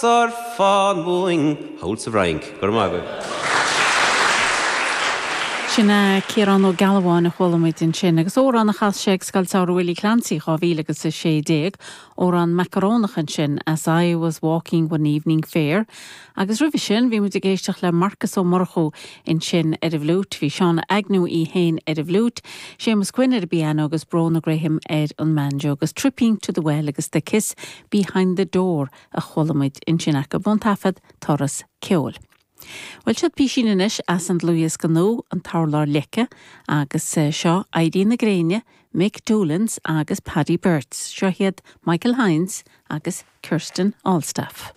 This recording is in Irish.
Ar fán uainn thall sa bhFrainc. Go raibh maith agaibh. Sin é Ciarán Ó Gealbháin a chuala muid ansin, agus amhrán a chas sé ag Scoil Samhraidh Willie Clancy 2016, amhrán macarónach ansin, As I Was Walking One Evening Fair. Agus roimhe sin, bhí muid ag éisteacht le Marcus Ó Murchú ansin ar an bhfliúit, bhí Shauna Agnew í féin ar an bhfliúit, Séamus Quinn ar an bpianó agus Bróna Graham ar an mbanjo, agus Tripping to the Well agus The Kiss Behind the Door a chuala muid ansin acu ón taifead Turas Ceoil. Bhuel, seo písín anois as an dlúthdhiosca nua, An tUrlár Leice, agus seo Éirí na Gréine, Mick Doolins agus Paddy Birts. Seo iad Michael Hynes agus Kirsten Allstaff.